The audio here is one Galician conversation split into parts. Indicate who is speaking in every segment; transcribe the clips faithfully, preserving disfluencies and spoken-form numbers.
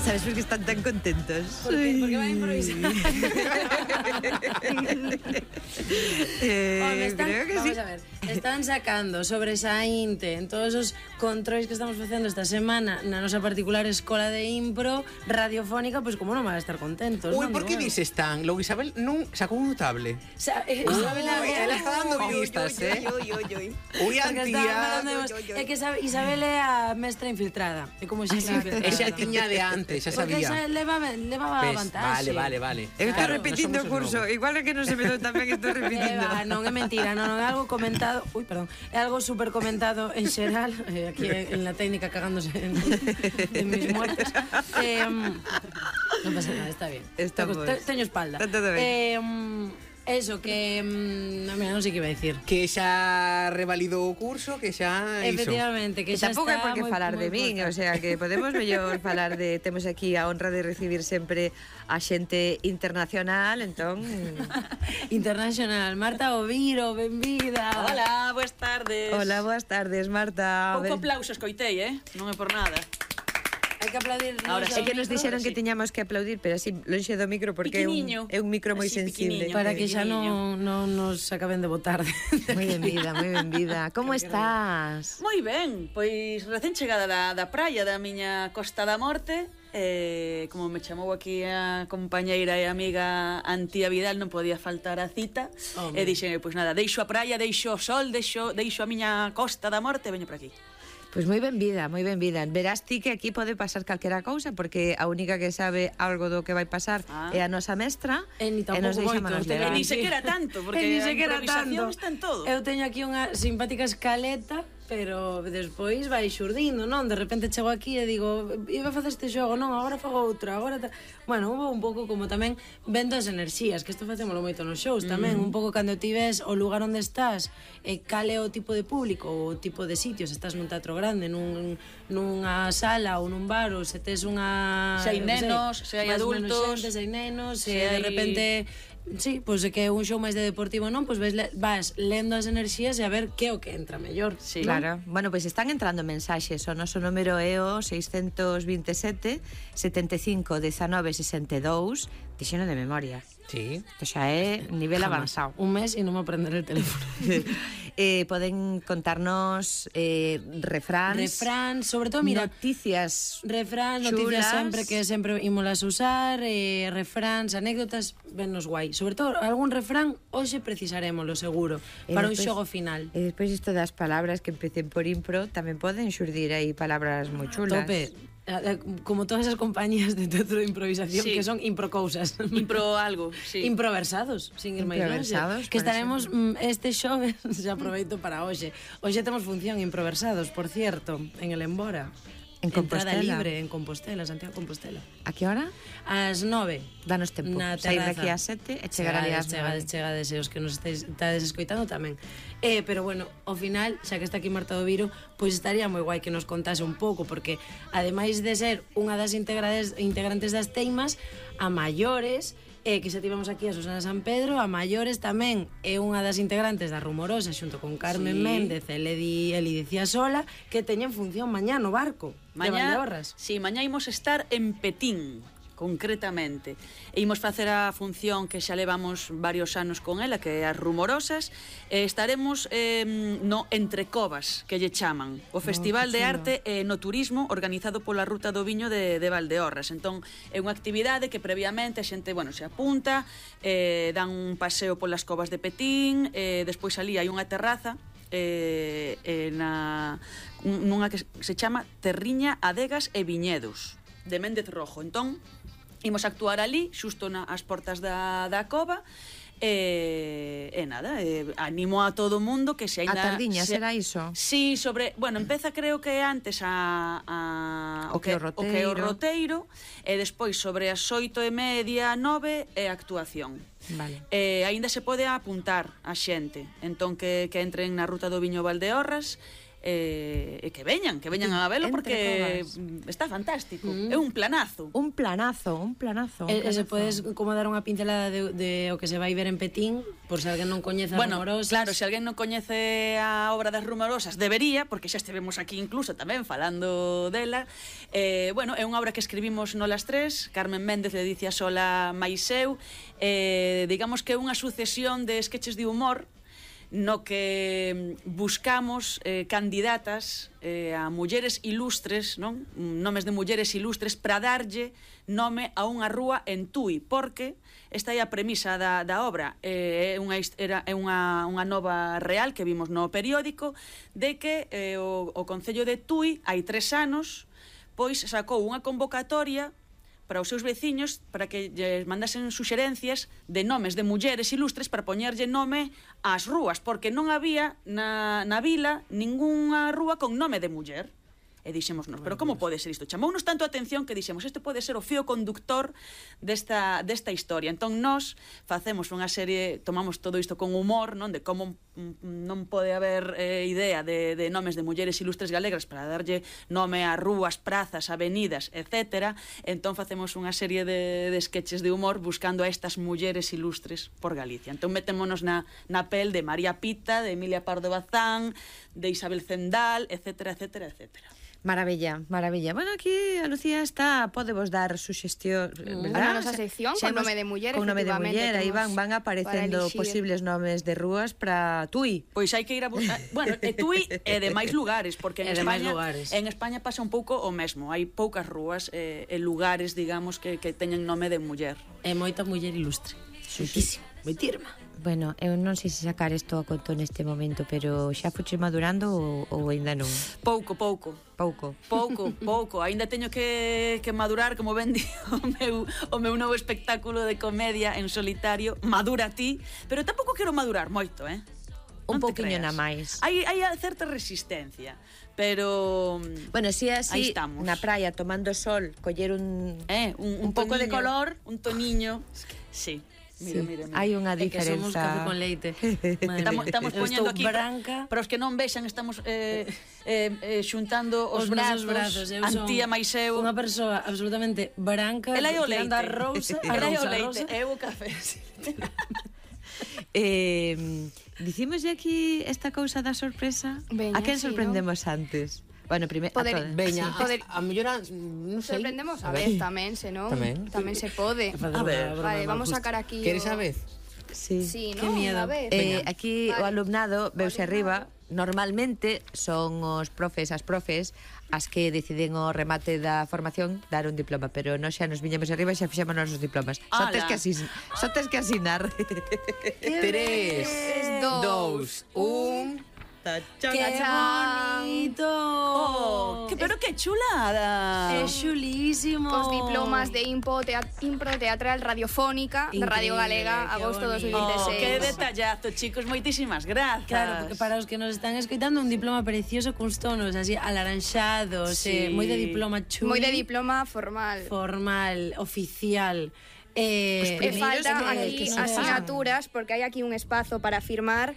Speaker 1: ¿Sabes por qué están tan contentos?
Speaker 2: Porque, porque van a improvisar.
Speaker 1: eh,
Speaker 2: Home, están,
Speaker 1: creo que
Speaker 2: vamos
Speaker 1: sí.
Speaker 2: a ver, están sacando sobresaínte en todos os controis que estamos facendo esta semana na nosa particular escola de impro radiofónica, pois pues, como non van a estar contentos.
Speaker 3: Ui,
Speaker 2: non?
Speaker 3: por que
Speaker 2: Digo,
Speaker 3: dices tan? Logo Isabel non sacou un notable.
Speaker 2: Sa eh,
Speaker 3: Uy,
Speaker 2: Isabela,
Speaker 3: ela está dando pistas, eh?
Speaker 1: Uy, uy, uy, uy.
Speaker 3: Ui,
Speaker 2: porque está
Speaker 3: Antía.
Speaker 2: falando de vos. É que sabe, Isabel é a mestra infiltrada. É como xa está infiltrada.
Speaker 3: Esa tiña de antes, xa
Speaker 2: Porque
Speaker 3: sabía.
Speaker 2: xa levaba, levaba
Speaker 3: Ves,
Speaker 2: vantaxe.
Speaker 3: Vale, vale, vale.
Speaker 1: Eu estou
Speaker 3: Claro,
Speaker 1: repetindo o
Speaker 3: non somos os
Speaker 1: curso.
Speaker 3: novos.
Speaker 1: Igual é que non se me dou tamén estou repetindo.
Speaker 2: Eh, va, non é mentira, non, non é algo comentado. Uy, perdón. É algo super comentado en xeral, eh, aquí en la técnica cagándose en, en mis muertes. Eh, non pasa nada, está bien.
Speaker 1: Estamos.
Speaker 2: Te, teño espalda.
Speaker 1: Está todo ben.
Speaker 2: Eh, eso, que... No, mira, non sei que iba a decir.
Speaker 3: Que xa revalidou o curso, que xa iso.
Speaker 2: Efectivamente, que
Speaker 1: Que
Speaker 2: xa
Speaker 1: tampouco
Speaker 2: está
Speaker 1: hai por que
Speaker 2: moi-
Speaker 1: falar
Speaker 2: moi
Speaker 1: de min,
Speaker 2: puesta.
Speaker 1: o sea, que podemos mellor falar de... Temos aquí a honra de recibir sempre a xente internacional, entón...
Speaker 2: Internacional. Marta Oviro, benvida.
Speaker 4: Hola, boas tardes.
Speaker 1: Hola, boas tardes, Marta.
Speaker 4: Pouco aplauso escoitei, eh? Non é por nada.
Speaker 2: Hai que aplaudir.
Speaker 4: Ahora
Speaker 2: nos
Speaker 1: É que nos
Speaker 2: amigos.
Speaker 1: dixeron que
Speaker 4: sí.
Speaker 1: tiñamos que aplaudir, pero así lonxe do micro, porque é un,
Speaker 4: Piquiniño.
Speaker 1: é un micro moi
Speaker 4: Así,
Speaker 1: sensible.
Speaker 4: piquiniño.
Speaker 2: Para que xa
Speaker 4: Pequeniño.
Speaker 2: non, non nos acaben de botar.
Speaker 1: Moi ben vida, moi ben vida. Como estás?
Speaker 4: Moi ben, pois recén chegada da, da praia da miña Costa da Morte. Eh, como me chamou aquí a compañeira e amiga Antía Vidal, non podía faltar a cita.
Speaker 2: Home.
Speaker 4: E dixen, pois nada, deixo a praia, deixo o sol, deixo, deixo a miña Costa da Morte e veño por aquí.
Speaker 1: Pois moi ben vida, moi ben vida. Verás ti que aquí pode pasar calquera cousa, porque a única que sabe algo do que vai pasar
Speaker 4: Ah.
Speaker 1: é a nosa mestra,
Speaker 2: E ni
Speaker 1: e nos
Speaker 2: tampouco
Speaker 1: deixa
Speaker 2: moito,
Speaker 1: manos
Speaker 2: te
Speaker 1: levar.
Speaker 4: E ni sequera tanto, porque
Speaker 2: E ni
Speaker 4: a
Speaker 2: sequera
Speaker 4: improvisación
Speaker 2: tanto.
Speaker 4: está en todo.
Speaker 2: Eu teño aquí unha simpática escaleta, pero despois vai xurdindo, non? De repente chego aquí e digo, iba a facer este xogo, non, agora fago outro, agora... Ta... Bueno, hubo un pouco como tamén vendo as enerxías, que isto facémolo moito nos shows tamén, un pouco cando ti ves o lugar onde estás, e cale o tipo de público, o tipo de sitio, se estás nun teatro grande, nun, nunha sala ou nun bar, ou se tes unha...
Speaker 4: Se hai
Speaker 2: eu que sei,
Speaker 4: nenos, se hai
Speaker 2: máis ou menos
Speaker 4: adultos,
Speaker 2: xente, se hai nenos, se,
Speaker 4: se
Speaker 2: de
Speaker 4: hai-
Speaker 2: repente... Sí, pois pues, que é un show máis de deportivo, non? Pois pues ves, vas lendo as enerxías e a ver que é o que entra mellor.
Speaker 4: Sí.
Speaker 1: Claro. Bueno, pois están entrando mensaxes. O noso número é o seiscentos veintesete, setenta e cinco, dezanove, sesenta e dous. Dixeno de memoria.
Speaker 3: Sí.
Speaker 1: Isto xa é nivel
Speaker 2: Jamás.
Speaker 1: avanzado.
Speaker 2: Un mes e non me aprender el teléfono.
Speaker 1: eh, poden contarnos eh, refráns,
Speaker 2: Refrán, sobre todo, mira,
Speaker 1: noticias
Speaker 2: refrán, noticias
Speaker 1: chulas.
Speaker 2: sempre que sempre ímolas usar, eh, refráns, anécdotas, vennos guai. Sobre todo, algún refrán, hoxe precisaremoslo, seguro,
Speaker 1: E
Speaker 2: para un
Speaker 1: despois-
Speaker 2: xogo final.
Speaker 1: E despois isto das palabras que empecen por impro tamén poden xurdir aí palabras moi chulas.
Speaker 2: Tope. Eh, Como todas as compañías de teatro de improvisación
Speaker 4: Sí.
Speaker 2: que son improcousas.
Speaker 4: Impro algo, sí.
Speaker 2: Improversados, sin ir máis longe.
Speaker 1: Improversados,
Speaker 2: Que
Speaker 1: por
Speaker 2: estaremos mm, este xoves, xa aproveito para hoxe. Hoxe temos función improversados, por cierto, en el Embora.
Speaker 1: En
Speaker 2: Entrada
Speaker 1: Compostela.
Speaker 2: libre en Compostela, Santiago de Compostela.
Speaker 1: A que hora?
Speaker 2: Ás nove.
Speaker 1: Danos tempo.
Speaker 2: Na
Speaker 1: Sair
Speaker 2: terraza.
Speaker 1: daqui ás sete e chegar ali ás
Speaker 2: Chegades,
Speaker 1: nove.
Speaker 2: chegades, e os que nos estáis, estades escoitando tamén. Eh, pero bueno, ao final, xa que está aquí Marta do Viro, pois estaría moi guai que nos contase un pouco, porque ademais de ser unha das integrades, integrantes das Teimas, a maiores, eh, que xa tivemos aquí a Susana San Pedro, a maiores tamén é unha das integrantes da Rumorosa xunto con Carmen
Speaker 4: Sí.
Speaker 2: Méndez, Eledi, Eli dicía sola, que teñen función mañá no barco de
Speaker 4: Mañá,
Speaker 2: Valdeorras.
Speaker 4: sí, mañá imos estar en Petín, concretamente. E imos facer a función que xa levamos varios anos con ela, que é as Rumorosas, e estaremos eh, no Entre Covas, que lle chaman, o Festival de Arte e no Turismo organizado pola Ruta do Viño de, de Valdeorras. Entón, é unha actividade que previamente a xente, bueno, se apunta, eh, dan un paseo polas covas de Petín, eh, despois ali hai unha terraza, eh, eh, na, nunha que se chama Terriña, Adegas e Viñedos, de Méndez Rojo. Entón, imos actuar ali, xusto nas portas da, da cova, e, e nada, e, animo a todo o mundo que se
Speaker 1: A
Speaker 4: ainda...
Speaker 1: tardiña,
Speaker 4: se,
Speaker 1: será iso?
Speaker 4: Sí, sobre, bueno, empeza creo que antes a, a
Speaker 1: O que é o
Speaker 4: o que é o
Speaker 1: roteiro.
Speaker 4: roteiro, e despois sobre as oito e media, nove é a actuación.
Speaker 1: Vale.
Speaker 4: Eh, aínda se pode apuntar a xente, entón que, que entren na Ruta do Viño Valdeorras, e, e que veñan, que veñan a velo porque está fantástico. É un planazo.
Speaker 1: Un planazo, un planazo.
Speaker 2: E, e se podes como dar unha pincelada de, de o que se vai ver en Petín, por se alguén non coñece a
Speaker 4: Bueno,
Speaker 2: Rumorosas.
Speaker 4: claro, se alguén non coñece a obra das Rumorosas, debería, porque xa estivemos aquí incluso tamén falando dela. Eh, bueno, é unha obra que escribimos nolas tres, Carmen Méndez, Ledicia Sola, Maiseu. Eh, digamos que é unha sucesión de sketches de humor no que buscamos eh, candidatas eh, a mulleres ilustres, non? Nomes de mulleres ilustres para darlle nome a unha rúa en Tui, porque esta é a premisa da, da obra. Eh, é unha, era, é unha, unha nova real que vimos no periódico de que eh, o, o Concello de Tui hai tres anos pois sacou unha convocatoria para os seus veciños, para que lles mandasen suxerencias de nomes de mulleres ilustres para poñerlle nome ás rúas, porque non había na, na vila ningunha rúa con nome de muller. E dixémonos, pero como pode ser isto? Chamounos tanto a atención que dixemos, este pode ser o fío conductor desta, desta historia. Entón, nós facemos unha serie, tomamos todo isto con humor, non? De como non pode haber eh, idea de, de nomes de mulleres ilustres galegas para darlle nome a rúas, prazas, avenidas, etcétera. Entón, facemos unha serie de, de sketches de humor buscando a estas mulleres ilustres por Galicia. Entón, metémonos na, na pel de María Pita, de Emilia Pardo Bazán, de Isabel Zendal, etcétera, etcétera, etcétera.
Speaker 1: Maravilla, maravilla. Bueno, aquí a Lucía está, podemos dar suxestión,
Speaker 5: Mm.
Speaker 1: verdad?
Speaker 5: A nosa sección,
Speaker 1: Xa
Speaker 5: con
Speaker 1: nos-
Speaker 5: nome de muller,
Speaker 1: Con nome de
Speaker 5: efectivamente,
Speaker 1: muller, aí
Speaker 5: temos
Speaker 1: van, van aparecendo
Speaker 5: para elixir.
Speaker 1: posibles nomes de rúas para Tui.
Speaker 4: Pois hai que ir a buscar, bueno, e Tui e de máis lugares, porque en
Speaker 2: E de máis
Speaker 4: España
Speaker 2: lugares.
Speaker 4: en España pasa un pouco o mesmo, hai poucas rúas e, e lugares, digamos, que, que teñen nome de muller.
Speaker 2: É moita muller ilustre. Moitísimo. Moitirma.
Speaker 1: Bueno, eu non sei se sacar isto a conto neste momento, pero xa fuche madurando ou, ou ainda non?
Speaker 4: Pouco, pouco.
Speaker 1: Pouco.
Speaker 4: Pouco, pouco. Ainda teño que, que madurar, como ben di o meu, o meu novo espectáculo de comedia en solitario, Madura ti, pero tampouco quero madurar moito, eh?
Speaker 1: Un
Speaker 4: Non te
Speaker 1: pouquiño
Speaker 4: creas.
Speaker 1: na máis.
Speaker 4: Hai, hai certa resistencia, pero...
Speaker 1: Bueno, si é
Speaker 4: Aí
Speaker 1: así,
Speaker 4: estamos.
Speaker 1: na praia, tomando sol, coller un...
Speaker 4: Eh, un,
Speaker 1: Un pouco de
Speaker 4: toniño,
Speaker 1: color.
Speaker 4: Un toniño. Sí. Mira,
Speaker 1: Sí,
Speaker 4: mira, mira.
Speaker 1: hai unha
Speaker 2: É que somos
Speaker 1: diferenza.
Speaker 2: café con leite. Madre
Speaker 4: Estamos,
Speaker 2: mía.
Speaker 4: estamos
Speaker 2: Eu
Speaker 4: poñendo
Speaker 2: estou
Speaker 4: aquí
Speaker 2: branca.
Speaker 4: para os que non vexan, estamos eh, eh, eh, xuntando os,
Speaker 2: Os
Speaker 4: brazos,
Speaker 2: nosos brazos. Eu son
Speaker 4: Antía máis eu.
Speaker 2: unha persoa absolutamente branca,
Speaker 4: Ela é o
Speaker 2: tirando
Speaker 4: leite.
Speaker 2: a rosa, a
Speaker 4: Ela é o
Speaker 2: rosa, a
Speaker 4: leite,
Speaker 2: rosa.
Speaker 4: é o café. Sí.
Speaker 1: Eh, dicimos aquí esta cousa da sorpresa.
Speaker 5: Veña,
Speaker 1: a quen
Speaker 5: sí,
Speaker 1: sorprendemos antes? Bueno, primeiro a
Speaker 5: Poder-
Speaker 1: todas.
Speaker 3: Veña,
Speaker 5: Sí, poder-
Speaker 3: a, a mellor, a- non sei.
Speaker 5: Sorprendemos a vez tamén, senón
Speaker 3: Tamén.
Speaker 5: tamén se pode.
Speaker 2: A
Speaker 4: ver,
Speaker 5: Vale, vamos a sacar aquí
Speaker 3: Queres
Speaker 5: o-
Speaker 3: a vez?
Speaker 1: Sí.
Speaker 5: Sí,
Speaker 2: Qué
Speaker 5: ¿no?
Speaker 2: miedo.
Speaker 5: A ver.
Speaker 1: Eh, aquí
Speaker 5: Vale.
Speaker 1: o alumnado veuse
Speaker 5: O
Speaker 1: arriba. Normalmente son os profes, as profes as que deciden o remate da formación dar un diploma, pero nós xa nos viñamos arriba e xa fixemos os diplomas. Só tes
Speaker 4: Ala.
Speaker 1: que asin, só tes que asinar.
Speaker 3: Tres,
Speaker 5: Dos,
Speaker 3: dous, un...
Speaker 2: ¡Qué bonito!
Speaker 4: Oh, que, pero que chulada.
Speaker 2: É chulísimo.
Speaker 5: Os diplomas de Impo, teat, Impro Teatral Radiofónica de Radio
Speaker 2: Increíble,
Speaker 5: Galega,
Speaker 2: qué
Speaker 5: agosto dos mil
Speaker 2: bonito.
Speaker 4: Oh,
Speaker 5: veintiséis.
Speaker 4: que detallazo, chicos, moitísimas grazas.
Speaker 2: Claro, porque para os que nos están escoitando un diploma precioso cuns tonos así alaranxados,
Speaker 4: Sí.
Speaker 2: eh, moi de diploma chuli.
Speaker 5: Moi de diploma formal.
Speaker 2: formal, oficial. Eh,
Speaker 5: E falta
Speaker 2: que-
Speaker 5: aquí
Speaker 2: que son
Speaker 5: asignaturas, porque hai aquí un espazo para firmar.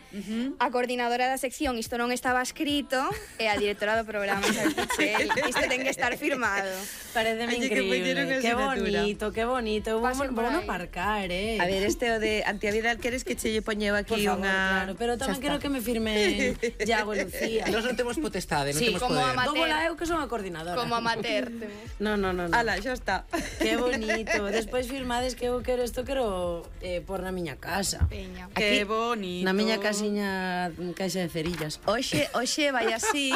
Speaker 5: A coordinadora da sección, isto non estaba escrito, e a directora do programa, Isabel Pichel. Isto ten que estar firmado.
Speaker 2: Pareceme
Speaker 1: Oye, que puñeron
Speaker 2: increíble. Qué
Speaker 1: asignatura.
Speaker 2: bonito, qué bonito. Vamos,
Speaker 5: Pasen por
Speaker 2: vamos
Speaker 5: aí.
Speaker 2: a aparcar, eh.
Speaker 1: A ver, este o de Antiavidal, queres que che lle poñeu
Speaker 2: por
Speaker 1: aquí
Speaker 2: favor,
Speaker 1: unha...
Speaker 2: claro. Pero tamén
Speaker 1: Xa
Speaker 2: quero
Speaker 1: está.
Speaker 2: que me firme Iago e Lucía.
Speaker 3: Nós non temos potestade, non
Speaker 2: Sí,
Speaker 3: temos
Speaker 5: como
Speaker 3: poder.
Speaker 5: ama-
Speaker 2: Dou bola eu que son a coordinadora.
Speaker 5: Como amateur. temos.
Speaker 2: No, no, no, no.
Speaker 1: Ala, xa está.
Speaker 2: Qué bonito. Despois firmades que eu quero isto quero eh, por na miña casa.
Speaker 5: Peña.
Speaker 4: Que
Speaker 1: Aquí,
Speaker 4: bonito.
Speaker 2: Na miña casiña caixa de cerillas.
Speaker 1: Oxe, oxe vai así,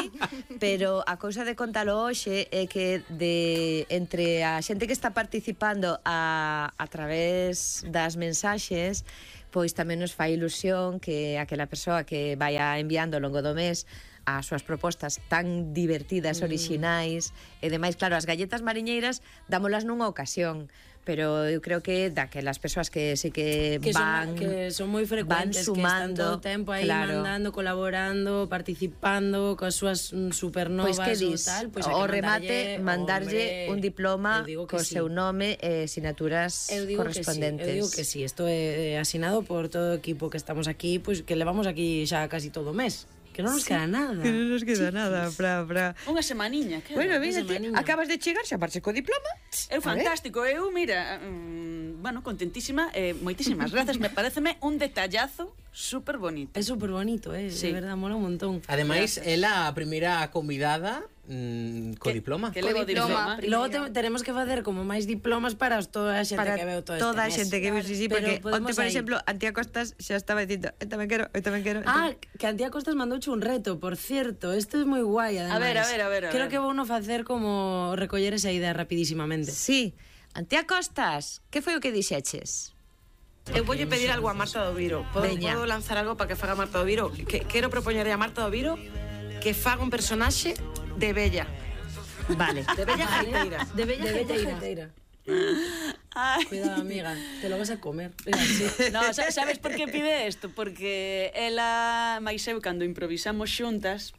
Speaker 1: pero a cousa de contalo hoxe é que de entre a xente que está participando a, a través das mensaxes, pois tamén nos fai ilusión que aquela persoa que vaya enviando ao longo do mes as súas propostas tan divertidas, orixinais e demais, claro, as galletas mariñeiras dámolas nunha ocasión, pero eu creo que daquelas persoas que sí que,
Speaker 2: que
Speaker 1: van
Speaker 2: son, que son moi frecuentes,
Speaker 1: van sumando,
Speaker 2: que están todo o tempo aí
Speaker 1: claro.
Speaker 2: mandando, colaborando, participando coas súas mm, supernovas
Speaker 1: Pois que
Speaker 2: ou
Speaker 1: dis,
Speaker 2: tal, pois hai
Speaker 1: o
Speaker 2: que
Speaker 1: remate mandarlle
Speaker 2: hombre,
Speaker 1: un diploma
Speaker 2: eu digo que
Speaker 1: co
Speaker 2: sí.
Speaker 1: seu nome e sinaturas
Speaker 2: Eu digo
Speaker 1: correspondentes.
Speaker 2: Que sí, eu digo que sí, isto é eh, asinado por todo o equipo que estamos aquí, pois que levamos aquí xa casi todo o mes, Que non nos queda nada.
Speaker 1: Que non nos queda nada para... para...
Speaker 4: Unha semaniña, que
Speaker 1: Bueno,
Speaker 2: Esa
Speaker 1: mira,
Speaker 2: maniña.
Speaker 1: acabas de chegar, xa marches co diploma.
Speaker 4: Eu fantástico, eu, mira, mm, bueno, contentísima, eh, moitísimas grazas, me pareceme un detallazo super bonito.
Speaker 2: É super bonito, eh,
Speaker 4: Sí.
Speaker 2: de verdad, mola un montón.
Speaker 3: Ademais, ela a primeira convidada mm, co
Speaker 4: Que-
Speaker 3: diploma.
Speaker 4: Que levo
Speaker 5: Co diploma.
Speaker 4: diploma.
Speaker 2: Logo te, teremos que facer como máis diplomas para toda a xente
Speaker 1: Para
Speaker 2: que veu todo este
Speaker 1: toda a
Speaker 2: mes.
Speaker 1: xente que viu, sí, sí,
Speaker 2: Pero
Speaker 1: porque
Speaker 2: podemos
Speaker 1: onte, por
Speaker 2: aí.
Speaker 1: exemplo, Antía Costas xa estaba dicindo, eu tamén quero, eu tamén quero.
Speaker 2: Ah, que Antía Costas mandouche un reto, por cierto. Isto é moi guai, ademais.
Speaker 4: A ver, a ver, a ver, a
Speaker 2: Creo
Speaker 4: ver.
Speaker 2: que vou no facer como recoller esa idea rapidísimamente.
Speaker 1: Sí. Antía Costas, que foi o que dixeches?
Speaker 6: Eu voulle pedir algo a Marta do Viro. Podo,
Speaker 1: Veña.
Speaker 6: podo lanzar algo para que faga Marta do Viro? Que, quero propoñerle a Marta do Viro que faga un personaxe de Bella.
Speaker 1: Vale.
Speaker 6: De Bella Gaiteira.
Speaker 2: De bella, de bella jeiteira.
Speaker 4: Ai.
Speaker 2: Cuidado, amiga, te lo vas a comer. Mira, sí.
Speaker 4: No, sa- sabes por que pide isto? Porque ela, máis eu, cando improvisamos xuntas,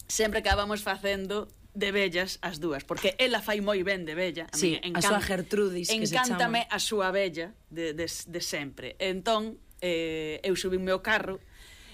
Speaker 4: sempre acabamos facendo de bellas as dúas, porque ela fai moi ben de bella.
Speaker 2: Sí,
Speaker 4: min
Speaker 2: a súa Gertrudis, que se
Speaker 4: Encántame
Speaker 2: chama.
Speaker 4: a súa bella de, de, de sempre. Entón, eh, eu subinme ao carro,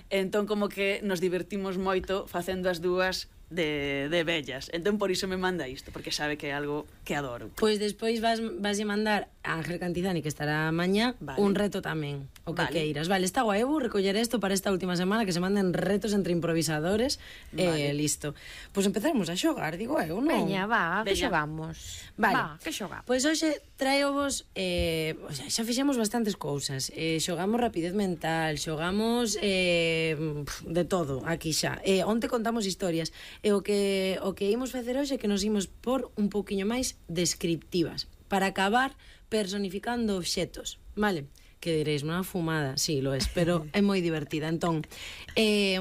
Speaker 4: entón como que nos divertimos moito facendo as dúas de, de bellas. Entón por iso me manda isto, porque sabe que é algo que adoro.
Speaker 2: Pois despois vas, vas a mandar a Ángel Cantizani, que estará mañá,
Speaker 4: Vale.
Speaker 2: un reto tamén, o que
Speaker 4: Vale.
Speaker 2: queiras. Vale, está guai, eu vou recoller isto para esta última semana, que se manden retos entre improvisadores, e
Speaker 4: Vale.
Speaker 2: eh, listo. Pois empezaremos a xogar, digo eu, non?
Speaker 1: Veña, va, que
Speaker 4: Veña.
Speaker 1: xogamos.
Speaker 2: Vale.
Speaker 1: Va, que xogamos.
Speaker 2: Pois hoxe traeovos, eh, o sea, xa fixemos bastantes cousas. Eh, xogamos rapidez mental, xogamos eh, de todo aquí xa. Eh, onte contamos historias. E o que o que imos facer hoxe é que nos imos por un pouquiño máis descriptivas, para acabar personificando obxetos, vale? Que diréis, unha fumada, sí, lo es, pero é moi divertida. Entón, eh,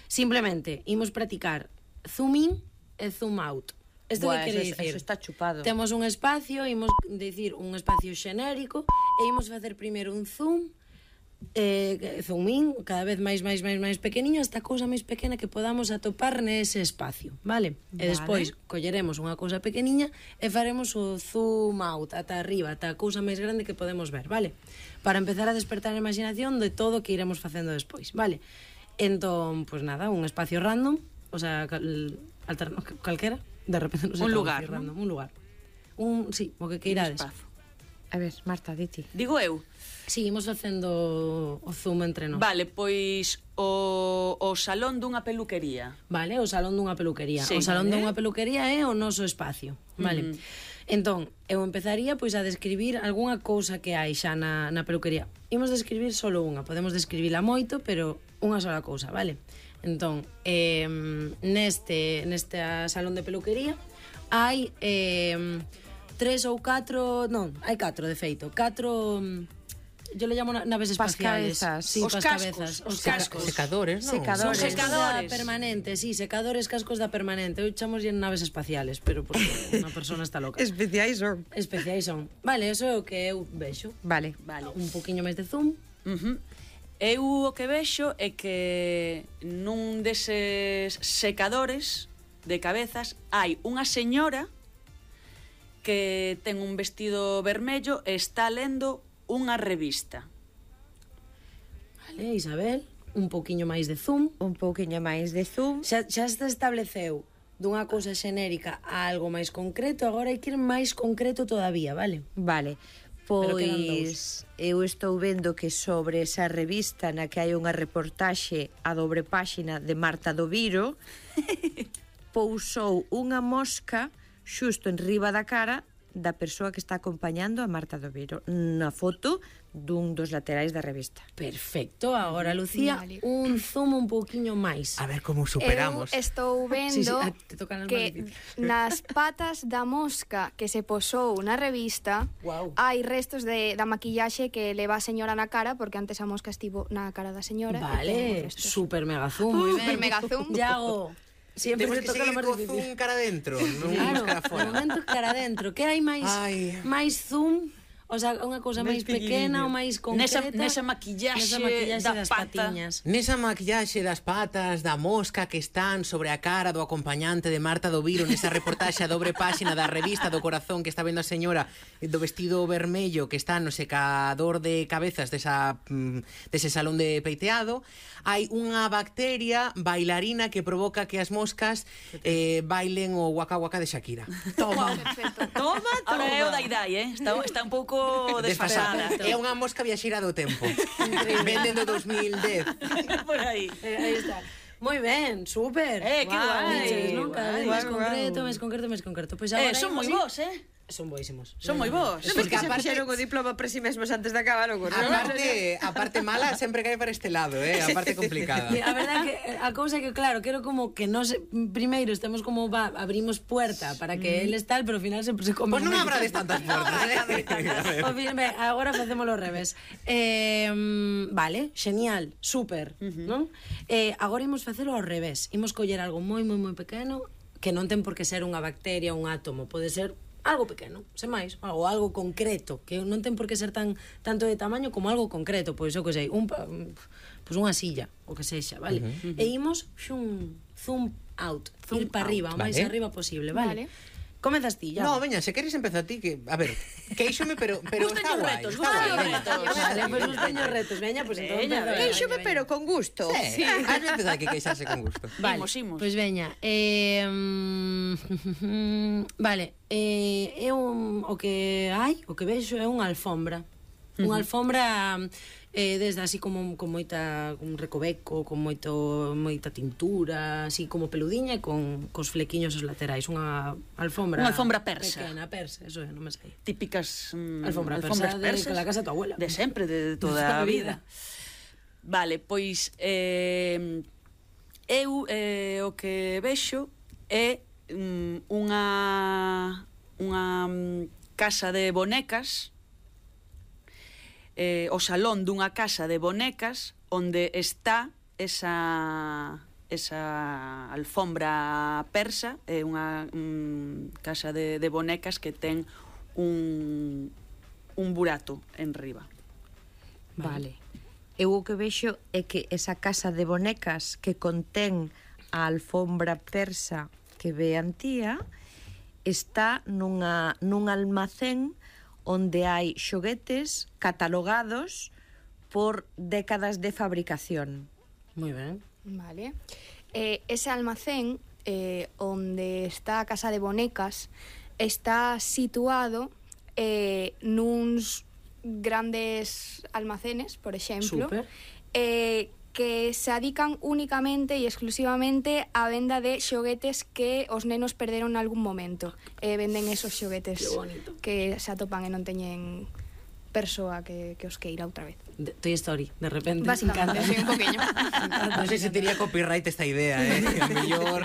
Speaker 2: simplemente imos practicar zoom in e zoom out. Isto
Speaker 1: Buah,
Speaker 2: que quere
Speaker 1: eso-
Speaker 2: dicir?
Speaker 1: eso está chupado.
Speaker 2: Temos un espacio, imos dicir un espacio xenérico e imos facer primeiro un zoom, eh, zoom in, cada vez máis, máis, máis, máis pequeniño, hasta a cousa máis pequena que podamos atopar nese espacio, vale? E
Speaker 1: Vale.
Speaker 2: despois colleremos unha cousa pequeniña e faremos o zoom out, ata arriba, ata a cousa máis grande que podemos ver, vale? Para empezar a despertar a imaginación de todo o que iremos facendo despois, vale? Entón, pues nada, un espacio random, o sea, cal, alterno, calquera, de repente non sei
Speaker 4: Un
Speaker 2: como
Speaker 4: lugar,
Speaker 2: dicir
Speaker 4: ¿no?
Speaker 2: random, un lugar. Un, sí, o que queirades.
Speaker 4: Espazo.
Speaker 1: A ver, Marta, diti.
Speaker 4: Digo eu,
Speaker 2: Sí, imos facendo o zoom entre nós.
Speaker 4: vale, pois o, o salón dunha peluquería.
Speaker 2: Vale, o salón dunha peluquería.
Speaker 4: Sí.
Speaker 2: O salón
Speaker 1: Vale.
Speaker 2: dunha peluquería é o noso espacio, vale?
Speaker 4: Ujú.
Speaker 2: Entón, eu empezaría pois a describir algunha cousa que hai xa na, na peluquería. Imos describir solo unha, podemos describila moito, pero unha sola cousa, vale? Entón, eh, neste, neste salón de peluquería hai eh, tres ou catro, non, hai catro de feito, catro, yo le llamo na- naves espaciales.
Speaker 1: Pascabezas.
Speaker 2: Sí,
Speaker 4: Os
Speaker 2: pascabezas,
Speaker 4: cascos.
Speaker 2: os
Speaker 3: Seca-
Speaker 2: cascos.
Speaker 3: secadores, non?
Speaker 1: Secadores.
Speaker 2: Son
Speaker 4: Secadores.
Speaker 2: secadores da permanente, sí, secadores cascos da permanente. Eu chamos en naves espaciales, pero porque unha persona está loca.
Speaker 1: Especiais son.
Speaker 2: Especiais son. Vale, eso é o que eu vexo.
Speaker 1: Vale.
Speaker 4: Vale.
Speaker 2: Un poquinho máis de zoom.
Speaker 4: Uh -huh. Eu o que vexo é que nun deses secadores de cabezas hai unha señora que ten un vestido vermello e está lendo unha revista.
Speaker 2: Vale, Isabel, un poquinho máis de zoom.
Speaker 1: Un pouquiño máis de zoom.
Speaker 2: Xa, xa se estableceu dunha cousa xenérica a algo máis concreto, agora hai que ir máis concreto todavía, vale?
Speaker 1: Vale.
Speaker 2: Pero quedan
Speaker 1: Pois eu estou vendo que sobre esa revista na que hai unha reportaxe a dobre páxina de Marta do Viro pousou unha mosca xusto en riba da cara da persoa que está acompañando a Marta do Viro na foto dun dos laterais da revista.
Speaker 2: Perfecto, agora Lucía,
Speaker 5: Vale.
Speaker 2: un zoom un pouquiño máis.
Speaker 3: A ver como superamos.
Speaker 5: Eu estou vendo
Speaker 2: Sí, sí, ah, te tocan as
Speaker 5: que
Speaker 2: máis difíciles.
Speaker 5: nas patas da mosca que se posou na revista
Speaker 2: Guau.
Speaker 5: hai restos de, da maquillaxe que leva a señora na cara, porque antes a mosca estivo na cara da señora. e ten
Speaker 2: Vale,
Speaker 5: restos.
Speaker 2: super mega zoom, moi ben.
Speaker 5: Super mega zoom.
Speaker 2: Yago, siempre
Speaker 3: Temos
Speaker 2: te
Speaker 3: que
Speaker 2: toca lo
Speaker 3: seguir
Speaker 2: máis
Speaker 3: co
Speaker 2: difícil.
Speaker 3: zoom cara dentro, non
Speaker 2: Claro,
Speaker 3: cara
Speaker 2: de
Speaker 3: fora.
Speaker 2: momento cara dentro. Que hai máis
Speaker 3: Ai.
Speaker 2: máis zoom? O sea, unha cousa máis
Speaker 3: pequeniño.
Speaker 2: pequena ou máis concreta.
Speaker 4: Nesa, nesa maquillaxe,
Speaker 2: nesa maquillaxe
Speaker 4: da
Speaker 2: das
Speaker 4: pata.
Speaker 2: patiñas.
Speaker 3: Nesa maquillaxe das patas, da mosca que están sobre a cara do acompañante de Marta do Viro, nesa reportaxe a dobre páxina da revista do Corazón que está vendo a señora do vestido vermello que está no secador de cabezas desa, dese salón de peiteado, hai unha bacteria bailarina que provoca que as moscas eh, bailen o waka waka de Shakira.
Speaker 4: Toma,
Speaker 5: Perfecto.
Speaker 4: toma, toma. Ahora é o da idade, eh? Está, está un pouco desfasada.
Speaker 3: É unha mosca viaxeira do tempo. Venden do dos mil dez.
Speaker 4: Por aí.
Speaker 2: Eh, aí está. Moi ben, super.
Speaker 4: Eh, que guai,
Speaker 2: Diches, non? Cada vez
Speaker 4: guai,
Speaker 2: máis
Speaker 1: guai,
Speaker 2: concreto,
Speaker 1: guai.
Speaker 2: máis concreto, máis concreto. Pois
Speaker 4: Eh,
Speaker 2: agora
Speaker 4: son moi
Speaker 2: imos
Speaker 4: vos, eh?
Speaker 2: Son boísimos.
Speaker 4: Son moi vos.
Speaker 1: Non ves
Speaker 3: Porque
Speaker 1: que se
Speaker 3: aparte-
Speaker 1: fixeron o diploma por si mesmos antes de acabar o curso?
Speaker 3: Aparte, a parte mala sempre cae para este lado, eh? A parte complicada.
Speaker 2: A verdade que a cousa é que claro, quero como que nos primeiro estemos como va, abrimos puerta para que eles tal, pero ao final sempre se come.
Speaker 3: Pois non abrades tantas portas, eh?
Speaker 2: Ao fin, ben, agora facémolo ao revés. Eh, vale, genial, super, non? Eh, agora imos facelo ao revés. Imos coller algo moi moi moi pequeno que non ten por que ser unha bacteria, un átomo, pode ser algo pequeno, sen máis, ou algo concreto, que non ten por que ser tan tanto de tamaño como algo concreto, pois eu que sei, un pa- pois unha silla, o que sexa, vale? Uh -huh. E imos xun zoom out, zoom ir para arriba, o máis
Speaker 3: vale.
Speaker 2: arriba posible, vale?
Speaker 5: Vale.
Speaker 2: Comezas ti, ya.
Speaker 3: No, veña, se queres empeza ti que, a ver, queixome pero pero está
Speaker 4: Gustaños
Speaker 3: guai.
Speaker 4: retos,
Speaker 3: Está
Speaker 4: gustaños
Speaker 3: guai.
Speaker 4: retos.
Speaker 2: Vale, pois os peños retos, veña, pois entón
Speaker 4: Veña,
Speaker 2: empeza.
Speaker 1: Queixome, pero con gusto.
Speaker 3: Sí, has de empezar que queixarse con gusto.
Speaker 2: Vale,
Speaker 4: Imos, imos.
Speaker 2: pois veña, eh, mm, vale, eh, é un, o que hai, o que vexo é unha alfombra. Unha alfombra eh, desde así como con moita un recoveco, con moito moita tintura, así como peludiña e con cos flequiños os laterais, unha alfombra
Speaker 4: Unha alfombra persa.
Speaker 2: Pequena, persa, eso é, non me sei.
Speaker 4: Típicas mm,
Speaker 2: Alfombra persa
Speaker 4: alfombras
Speaker 2: de-
Speaker 4: persas
Speaker 2: que la casa de tu abuela.
Speaker 4: de sempre, de toda
Speaker 2: toda
Speaker 4: a
Speaker 2: a
Speaker 4: vida.
Speaker 2: vida.
Speaker 4: Vale, pois eh, eu eh, o que vexo é mm, unha unha mm, casa de bonecas, eh, o salón dunha casa de bonecas onde está esa esa alfombra persa, é unha mm, casa de, de bonecas que ten un un burato en riba.
Speaker 1: Vale. Eu o que vexo é que esa casa de bonecas que contén a alfombra persa que ve Antía está nunha, nun almacén onde hai xoguetes catalogados por décadas de fabricación.
Speaker 2: Moi ben.
Speaker 5: Vale. Eh, ese almacén eh, onde está a casa de bonecas está situado eh, nuns grandes almacenes, por exemplo,
Speaker 2: Súper.
Speaker 5: eh, que se adican únicamente e exclusivamente á venda de xoguetes que os nenos perderon nalgún momento. Eh, venden esos xoguetes
Speaker 2: Que bonito.
Speaker 5: que se atopan e non teñen persoa que, que os queira outra vez.
Speaker 2: De, Toy Story, de repente.
Speaker 5: Básicamente, sí, un poquinho.
Speaker 3: Non sei se tería copyright esta idea, eh? A mellor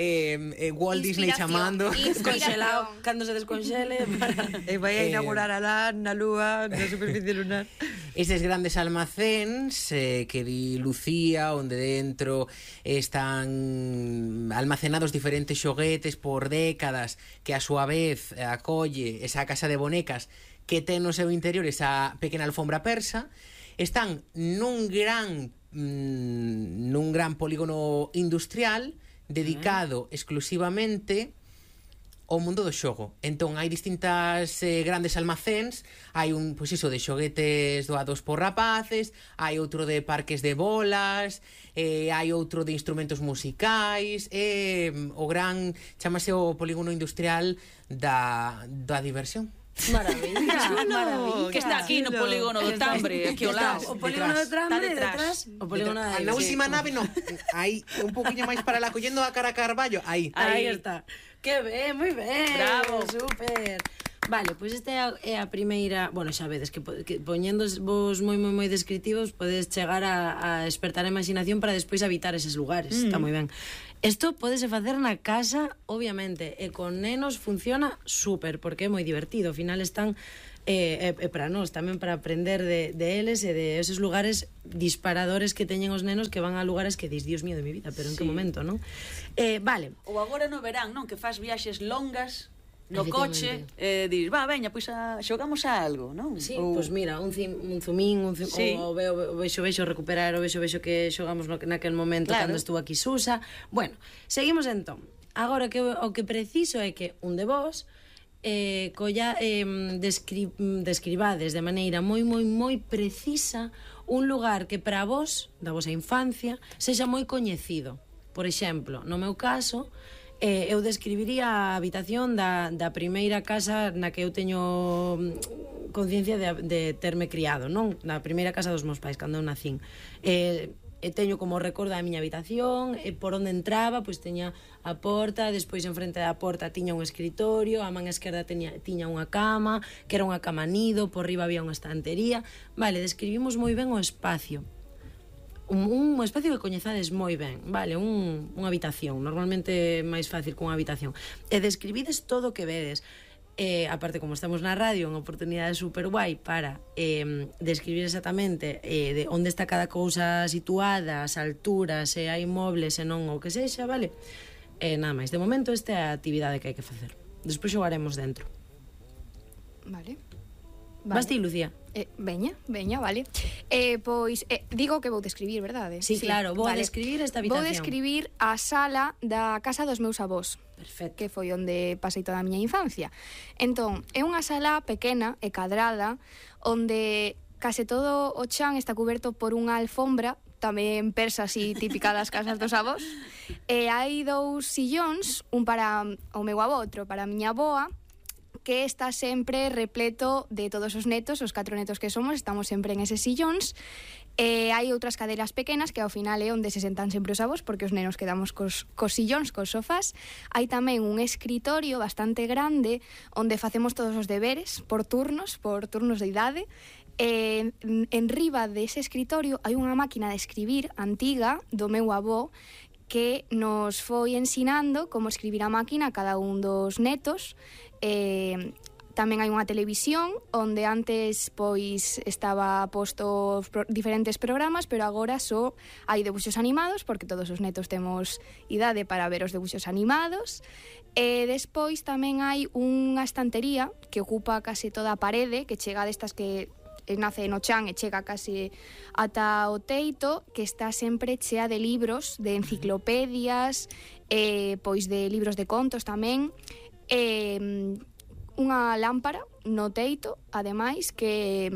Speaker 3: eh, eh, Walt Disney
Speaker 5: Inspiración.
Speaker 3: chamando.
Speaker 2: Descongelado, cando se desconxele para...
Speaker 1: E vai a
Speaker 3: Eh,
Speaker 1: inaugurar alá na lúa, na superficie lunar.
Speaker 3: Estes grandes almacéns eh, que di Lucía, onde dentro están almacenados diferentes xoguetes por décadas, que a súa vez acolle esa casa de bonecas que ten no seu interior esa pequena alfombra persa, están nun gran mm, nun gran polígono industrial dedicado exclusivamente ao mundo do xogo. Entón, hai distintas eh, grandes almacéns, hai un, pois iso, de xoguetes doados por rapaces, hai outro de parques de bolas, eh, hai outro de instrumentos musicais, eh, o gran, chamase o polígono industrial da, da diversión.
Speaker 2: Maravilla, maravilla.
Speaker 4: Que está aquí no polígono do Tambre, aquí ao lado.
Speaker 2: O polígono do Tambre,
Speaker 4: Está detrás.
Speaker 2: detrás. O polígono da
Speaker 3: Na última nave, non, hai un poquinho máis para la collendo a cara a Carballo, aí.
Speaker 2: Aí
Speaker 4: Aí.
Speaker 2: está. Que ben, moi ben.
Speaker 4: Bravo.
Speaker 2: Super. Vale, pois esta é a, é a primeira... Bueno, xa vedes que, po- que poñendo vos moi moi moi descriptivos podes chegar a, a despertar a imaginación para despois habitar eses lugares. Mm. Está moi ben. Isto podese facer na casa, obviamente, e con nenos funciona super, porque é moi divertido. Ao final están e, e, e para nós tamén para aprender de, de eles e de esos lugares disparadores que teñen os nenos que van a lugares que dis, Dios mío de mi vida, pero en
Speaker 4: Sí.
Speaker 2: que momento, non? Eh, vale.
Speaker 4: Ou agora no verán, non? Que fas viaxes longas no coche, eh, dis, va, veña, pois a, xogamos a algo, non?
Speaker 2: Sí,
Speaker 4: Ou...
Speaker 2: pois mira, un, cim, un zumín, un zumín,
Speaker 4: Sí.
Speaker 2: o veo, vexo, vexo recuperar, o vexo, vexo que xogamos no, naquel momento
Speaker 4: Claro.
Speaker 2: cando estuvo aquí Susa. Bueno, seguimos entón. Agora que o que preciso é que un de vos eh, colla, eh, descri, describades de maneira moi, moi, moi precisa un lugar que para vos, da vosa infancia, sexa moi coñecido. Por exemplo, no meu caso, eh, eu describiría a habitación da, da primeira casa na que eu teño mm, conciencia de, de terme criado, non? Na primeira casa dos meus pais, cando eu nacín. Eh, e teño como recordo a miña habitación, e por onde entraba, pois teña a porta, despois en frente da porta tiña un escritorio, a man esquerda teña, tiña unha cama, que era unha cama nido, por riba había unha estantería. Vale, describimos moi ben o espacio. Un, un espacio que coñezades moi ben, vale, un, unha habitación, normalmente é máis fácil que unha habitación. E describides todo o que vedes. Eh, aparte, como estamos na radio, unha oportunidade super guai para eh, describir exactamente eh, de onde está cada cousa situada, as alturas, se hai mobles, se non, o que sexa, vale? Eh, nada máis, de momento esta é a actividade que hai que facer. Despois xogaremos dentro.
Speaker 5: Vale.
Speaker 2: Vas ti, Lucía?
Speaker 5: Eh, veña, veña, vale. Eh, pois, eh, digo que vou describir, verdade?
Speaker 2: Sí, claro, vou a describir esta habitación.
Speaker 5: Vou describir a sala da casa dos meus avós.
Speaker 2: Perfecto.
Speaker 5: Que foi onde pasei toda a miña infancia. Entón, é unha sala pequena e cadrada, onde case todo o chan está cuberto por unha alfombra, tamén persa así típica das casas dos avós. E hai dous sillóns, un para o meu avó, outro para a miña avoa, que está sempre repleto de todos os netos, os catro netos que somos, estamos sempre en eses sillóns. E hai outras cadeiras pequenas que ao final é onde se sentan sempre os avós, porque os nenos quedamos cos, cos sillóns, cos sofás. Hai tamén un escritorio bastante grande onde facemos todos os deberes por turnos, por turnos de idade. E en, en riba dese escritorio hai unha máquina de escribir antiga do meu avó que nos foi ensinando como escribir a máquina a cada un dos netos. Eh, tamén hai unha televisión onde antes pois estaba posto pro, diferentes programas, pero agora só hai debuxos animados, porque todos os netos temos idade para ver os debuxos animados. E despois tamén hai unha estantería que ocupa case toda a parede, que chega destas que nace no chan e chega case ata o teito, que está sempre chea de libros, de enciclopedias, eh, pois de libros de contos tamén. E unha lámpara no teito, ademais, que,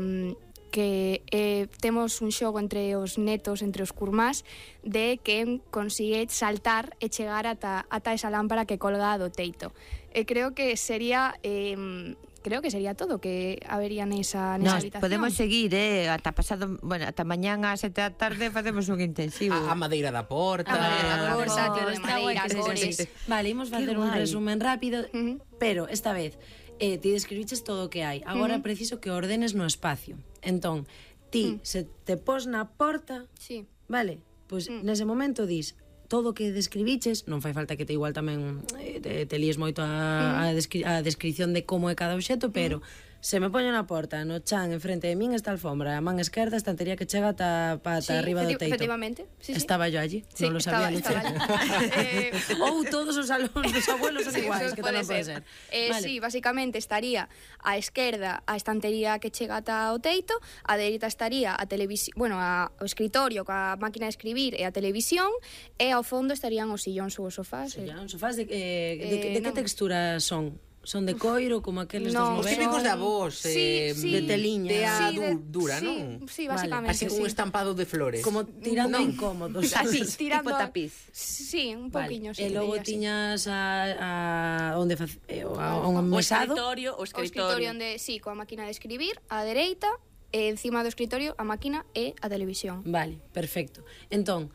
Speaker 5: que eh, temos un xogo entre os netos, entre os curmás, de quen consigue saltar e chegar ata, ata esa lámpara que colga do teito. E creo que sería... Eh, creo que sería todo que habería nesa, nesa
Speaker 1: Nos
Speaker 5: habitación.
Speaker 1: podemos seguir, eh, ata pasado, bueno, ata mañán ás sete da tarde facemos un intensivo.
Speaker 3: A, a madeira da porta.
Speaker 5: A madeira da porta,
Speaker 2: Oh,
Speaker 5: tío de
Speaker 2: está guai
Speaker 5: madeira,
Speaker 2: que sexa
Speaker 5: cores.
Speaker 2: así. Vale, imos facer un
Speaker 1: guai.
Speaker 2: resumen rápido,
Speaker 5: Uh-huh.
Speaker 2: pero esta vez eh, ti describiches todo o que hai. Agora
Speaker 5: Uh-huh.
Speaker 2: preciso que ordenes no espacio. Entón, ti,
Speaker 5: Mm.
Speaker 2: se te pos na porta,
Speaker 5: Sí.
Speaker 2: vale, pois
Speaker 5: Mm.
Speaker 2: nese momento dis todo o que describiches, non fai falta que te igual tamén eh, te, te líes moito a, a, descri a descripción de como é cada obxeto, pero se me poño na porta, no chan, enfrente de min está a alfombra, a man esquerda estantería que chega ata, ata
Speaker 5: Sí,
Speaker 2: arriba do
Speaker 5: efecti-
Speaker 2: teito.
Speaker 5: efectivamente. Sí, sí.
Speaker 2: Estaba yo allí,
Speaker 5: Sí,
Speaker 2: non lo sabía,
Speaker 5: estaba,
Speaker 2: Lucía.
Speaker 5: estaba allí. Eh,
Speaker 2: Ou todos os salóns dos abuelos son
Speaker 5: Sí,
Speaker 2: iguais,
Speaker 5: eso
Speaker 2: que
Speaker 5: pode
Speaker 2: tamén pode ser.
Speaker 5: Eh,
Speaker 2: Vale.
Speaker 5: Sí, basicamente estaría á esquerda a estantería que chega ata o teito, a dereita estaría a televisión, bueno, a, o escritorio coa máquina de escribir e a televisión, e ao fondo estarían os sillóns ou os sofás.
Speaker 2: Sí,
Speaker 5: eh.
Speaker 2: ya, os sofás de, eh, de,
Speaker 5: Eh,
Speaker 2: de que
Speaker 5: non.
Speaker 2: textura son? Son de coiro, como aqueles dos
Speaker 5: No,
Speaker 3: Os
Speaker 2: novelos?
Speaker 3: típicos
Speaker 5: son-
Speaker 3: da voz, eh,
Speaker 5: Sí, sí.
Speaker 2: de teliña.
Speaker 3: de a
Speaker 5: Sí, de-
Speaker 3: du- dura,
Speaker 5: sí,
Speaker 3: non?
Speaker 5: Sí,
Speaker 2: Vale,
Speaker 5: basicamente,
Speaker 3: Así con
Speaker 5: sí.
Speaker 3: un estampado de flores.
Speaker 2: Como tirando
Speaker 5: No.
Speaker 2: incómodos.
Speaker 1: Así,
Speaker 5: Tirando
Speaker 1: tipo
Speaker 5: a-
Speaker 1: tapiz.
Speaker 5: Sí, un
Speaker 2: Vale.
Speaker 5: poquinho, sí.
Speaker 2: E logo
Speaker 5: diría así.
Speaker 2: tiñas a, a onde fac, eh, a, a un
Speaker 4: O
Speaker 2: mesado.
Speaker 4: escritorio, o
Speaker 5: O escritorio
Speaker 4: escritorio.
Speaker 5: onde, sí, coa máquina de escribir, á dereita, e encima do escritorio a máquina e a televisión.
Speaker 2: Vale, perfecto. Entón,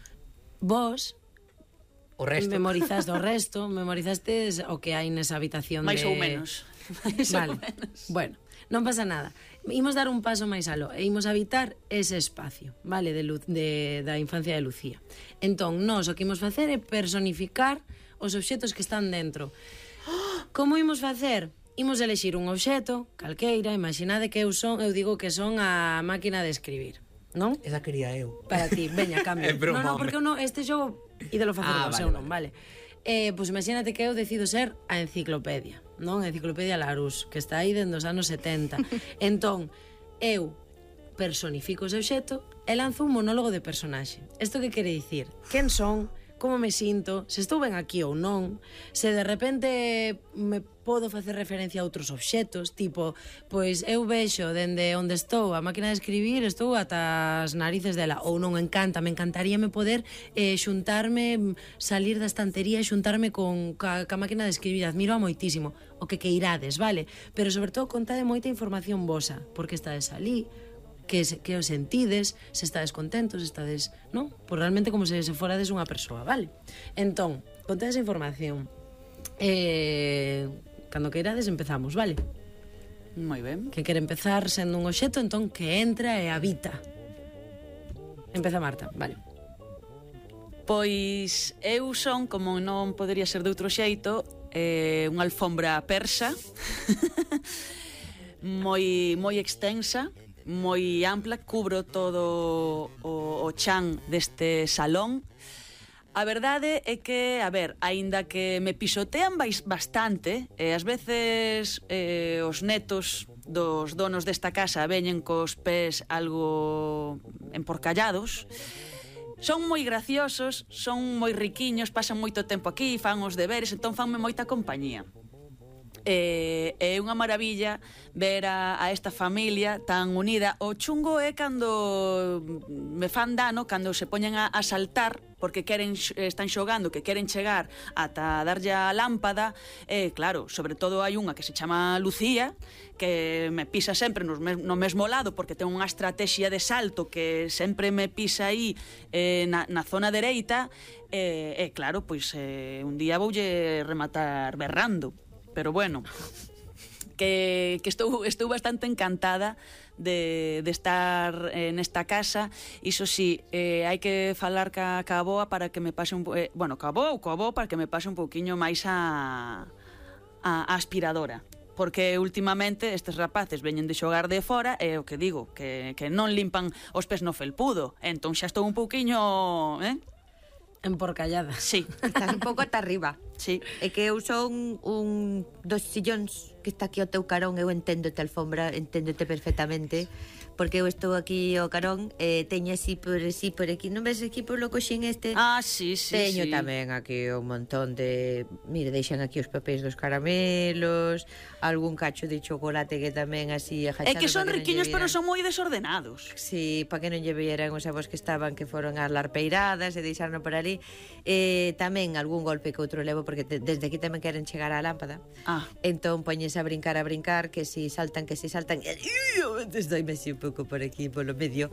Speaker 2: vos
Speaker 3: O resto.
Speaker 2: memorizaste o resto, memorizastes o que hai nesa habitación
Speaker 4: Mais
Speaker 2: de...
Speaker 4: ou menos. Mais ou
Speaker 2: Vale,
Speaker 4: menos.
Speaker 2: bueno, non pasa nada. Imos dar un paso máis aló e imos habitar ese espacio, vale, de, Lu de da infancia de Lucía. Entón, nós o que imos facer é personificar os obxetos que están dentro. Como imos facer? Imos elexir un obxeto, calqueira, imaginade que eu son, eu digo que son a máquina de escribir, non?
Speaker 3: Esa quería eu.
Speaker 2: Para ti, veña, cambio.
Speaker 3: É broma,
Speaker 2: no, no,
Speaker 3: hombre.
Speaker 2: porque eu non, este xogo ídelo facer
Speaker 3: Ah,
Speaker 2: vos,
Speaker 3: vale,
Speaker 2: eu non, vale. Eh, pois imagínate que eu decido ser a enciclopedia, non? A enciclopedia Larousse, que está aí dende os anos setenta. Entón, eu personifico ese obxecto e lanzo un monólogo de personaxe. Isto que quere dicir? Quen son? Como me sinto? Se estou ben aquí ou non? Se de repente me podo facer referencia a outros obxectos, tipo, pois eu vexo dende onde estou a máquina de escribir, estou ata as narices dela, ou non encanta, me encantaríame poder eh, xuntarme, salir da estantería e xuntarme con ca, ca máquina de escribir, admiro a moitísimo, o que queirades, vale? Pero sobre todo contade moita información vosa, porque estades ali, que, que os sentides, se estades contentos, se estades, non? Pois realmente como se, se forades unha persoa, vale? Entón, contade esa información. Eh, cando queirades empezamos, vale?
Speaker 4: Moi ben.
Speaker 2: Que quere empezar sendo un obxecto, entón que entra e habita. Empeza Marta, vale.
Speaker 4: Pois eu son, como non podería ser de outro xeito, eh, unha alfombra persa, moi, moi extensa, moi ampla, cubro todo o, o chan deste salón. A verdade é que, a ver, aínda que me pisotean bastante, e ás veces eh, os netos dos donos desta casa veñen cos pés algo emporcallados, son moi graciosos, son moi riquiños, pasan moito tempo aquí, fan os deberes, entón fanme moita compañía. É eh, unha maravilla ver a, a esta familia tan unida. O chungo é cando me fan dano, cando se poñen a, a saltar porque queren, están xogando, que queren chegar ata darlle a lámpada. E eh, claro, sobre todo hai unha que se chama Lucía, que me pisa sempre no, no mesmo lado porque ten unha estrategia de salto que sempre me pisa aí eh, na, na zona dereita. E eh, eh, claro, pois eh, un día voulle rematar berrando. Pero bueno, que, que estou, estou bastante encantada de, de estar eh, nesta casa. Iso sí, eh, hai que falar ca, ca boa para que me pase un eh, bueno, ca boa ou ca boa para que me pase un pouquiño máis a, a, a aspiradora. Porque últimamente estes rapaces veñen de xogar de fora e o que digo, que, que non limpan os pés no felpudo. Entón xa estou un pouquiño... Eh?
Speaker 2: Emporcallada.
Speaker 4: Sí.
Speaker 1: Estás un pouco ata arriba.
Speaker 4: Sí.
Speaker 1: É que eu son un dos sillóns que está aquí ao teu carón, eu enténdote, alfombra, enténdote perfectamente, porque eu estou aquí ao carón e eh, teño así por así por aquí, non ves aquí por lo coxín este?
Speaker 4: Ah, sí, sí,
Speaker 1: teño
Speaker 4: sí.
Speaker 1: tamén aquí un montón de, mire, deixan aquí os papéis dos caramelos, algún cacho de chocolate que tamén así agachado.
Speaker 4: É que son riquiños, pero son moi desordenados.
Speaker 1: Sí, para que non lle vieran os avós que estaban, que foron ás larpeiradas e deixaron por ali. Eh, tamén algún golpe que outro levo, porque te, desde aquí tamén queren chegar á lámpada.
Speaker 4: Ah.
Speaker 1: Entón poñes a brincar, a brincar, que si saltan, que si saltan. E doime así un pouco por aquí, polo medio.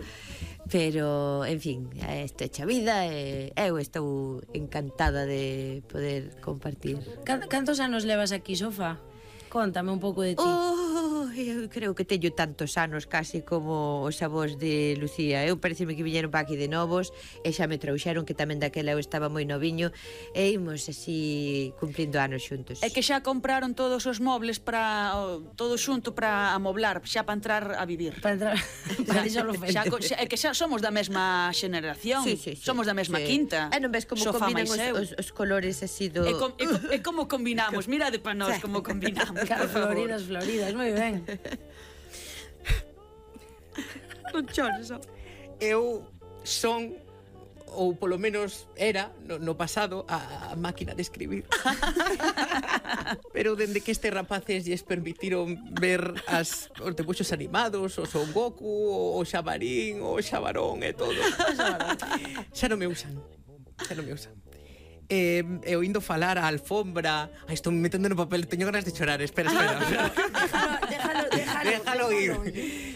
Speaker 1: Pero, en fin, isto é cha vida e eu estou encantada de poder compartir.
Speaker 2: Cantos anos levas aquí, Sofá? Contame un pouco de ti.
Speaker 1: Oh, eu creo que teño tantos anos casi como os avós de Lucía. Eu pareceme que viñeron para aquí de novos e xa me trouxeron, que tamén daquela eu estaba moi noviño, e imos así cumplindo anos xuntos.
Speaker 4: É que xa compraron todos os mobles para todo xunto para amoblar, xa para entrar a vivir.
Speaker 2: Para entrar, para xa,
Speaker 4: xa, xa, é que xa somos da mesma xeneración.
Speaker 1: Sí, sí, sí.
Speaker 4: Somos da mesma
Speaker 1: sí.
Speaker 4: quinta.
Speaker 1: E non ves como
Speaker 4: Sofá
Speaker 1: combinan os, os, os colores así do...
Speaker 4: E, com, e, e como combinamos, mirade para nós como combinamos.
Speaker 2: Claro, floridas, floridas, moi ben.
Speaker 1: Non chores, oh.
Speaker 3: Eu son, ou polo menos era, no, no pasado, a, a máquina de escribir. Pero dende que este rapaces lles permitiron ver as, os debuxos animados, o Son Goku, o, o Xabarín, o Xabarón e todo, xa non me usan, xa non me usan. Eh, e oindo falar a alfombra. Ai, estou me metendo no papel, teño ganas de chorar. Espera, espera, espera.
Speaker 2: Déjalo, déjalo, déjalo,
Speaker 3: déjalo ir.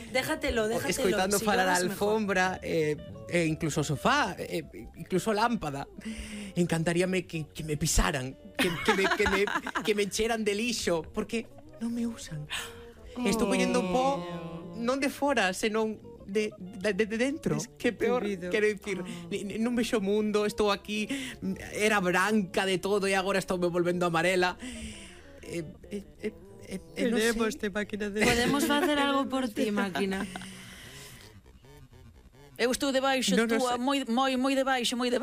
Speaker 2: Déjatelo, déjatelo.
Speaker 3: Escoitando si falar a alfombra e eh, eh, incluso o sofá, eh, incluso a lámpada. Encantaríame que, que me pisaran, que, que, me, que, me, que me encheran de lixo, porque non me usan. Oh. Estou collendo pó non de fora, senón de, de, de dentro. Que peor, quero dicir, oh. non vexo o mundo, estou aquí, era branca de todo e agora estou me volvendo amarela. Eh, eh, eh, eh, eh, non sei.
Speaker 1: Máquina de...
Speaker 2: Podemos facer algo por ti, máquina.
Speaker 4: Eu estou debaixo,
Speaker 3: no, no
Speaker 4: túa, moi, moi, moi debaixo, moi debaixo.